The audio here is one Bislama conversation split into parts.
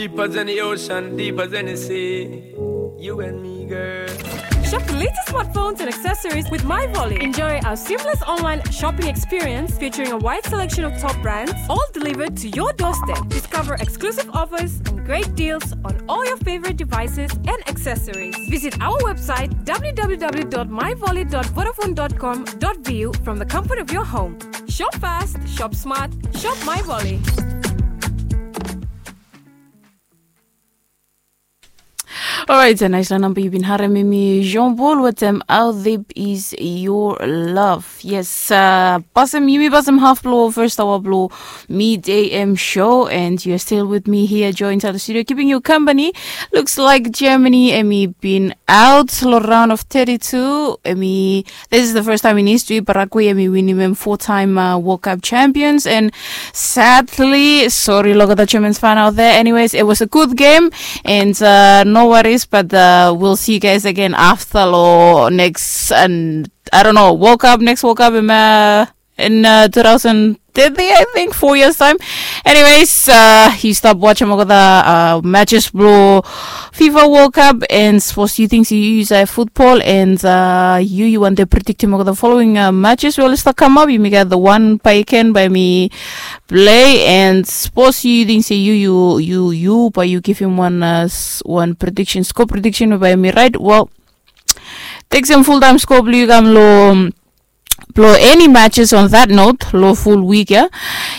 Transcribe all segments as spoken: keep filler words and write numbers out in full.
Deeper than the ocean, deeper than the sea. You and me, girl. Shop the latest smartphones and accessories with MyVolley. Enjoy our seamless online shopping experience featuring a wide selection of top brands, all delivered to your doorstep. Discover exclusive offers and great deals on all your favorite devices and accessories. Visit our website w w w dot my volley dot vodafone dot com dot v u from the comfort of your home. Shop fast, shop smart, shop MyVolley. Orait, a naisfala namba yu bin harem, hemi Jean Paul wetem How Deep Is Your Love. Yes, uh, pasem, yumi pasem haf blo first hour blo Mid A M show, and you're still with me here, Joy, inside the studio, keeping you company. Looks like Germany, hemi bin out lo round of thirty-two. Hemi This is the first time in history Paraguay hemi winim hemia four-time uh, World Cup champions. And sadly, sorry lo olgeta Germans fan out there. Anyways, it was a good game, and uh, no worries. But uh, we'll see you guys again after lo next, and I don't know, World Cup, next World Cup in uh, in uh, two thousand thirty, I think, four years time. Anyways, uh, yu stap wajem olgeta uh, matches blo FIFA World Cup, and sapos yu ting se yu yus futbol, and uh, yu yu wantem prediktem olgeta following uh, matches we oli stap kamap, yumi gat the one by Ken by mi play, and sapos yu ting se yu yu yu yu bae yu givim wan uh, s- wan prediction, score prediction by mi, right? Well, teksem full time score blo yu kam lo blo any matches on that note lo full week ya.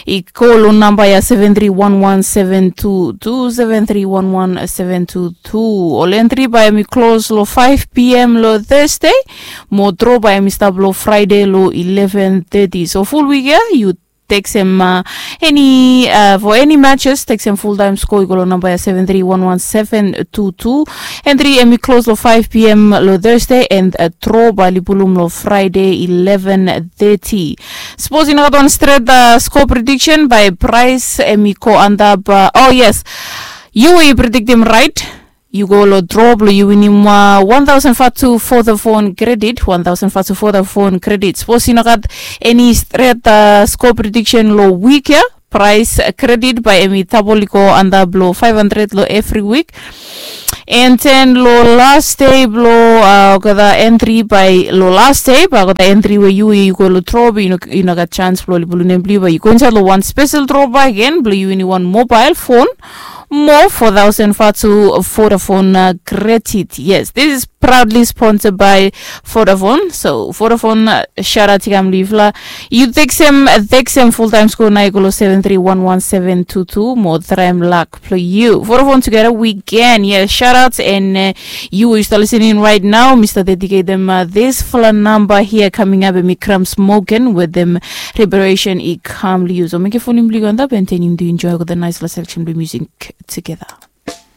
I go lo namba ya seven three one one seven two two, seven three one one seven two two. Ol entry bae hemi close lo five p.m. lo Thursday. Mo draw bae hemi stap lo Friday lo eleven thirty. So full week ya, yu teksem uh, any uh, for any matches, teksem full time score, i go lo namba ya seven three one one seven two two. Entry hemi close lo five p.m. lo Thursday, and uh, draw bae oli pulum lo Friday eleven thirty. Sapos yu nogat wan stret uh, score prediction bae prize hemi go antap uh, oh yes, yu we yu prediktem right, yu go lo draw blo yu winim uh, one thousand vatu Vodafone credit, one thousand vatu Vodafone credit. Sapos yu nogat any stret uh, score prediction lo week ya, prize uh, credit bae hemi tabol i go antap lo five hundred lo evri week. And then lo last day blo uh, olgeta entry bae lo last day bae olgeta entry we yu yu go lo draw, but yu nogat chance blo oli pulum nem blo yu, bae yu go insaed lo wan special draw bakegen blo yu winim wan mobile phone mo four thousand vatu Vodafone uh, credit. Yes, this is proudly sponsored by Vodafone. So Vodafone, uh, shout out i kam lo yufala. Yu teksem uh, teksem full time score nao i go lo seven three one one seven two two mo traem luck blo yu. Vodafone, together we can. Yes, shout out, and uh, yu we yu stap listening right now, mi stap dedicate them uh, this fala namba here coming up, hemi Cramps Morgan wetem Liberation i kam lo yu. So mekem fon blo yu go antap, and then yu enjoy olgeta naisfala selection blo music together.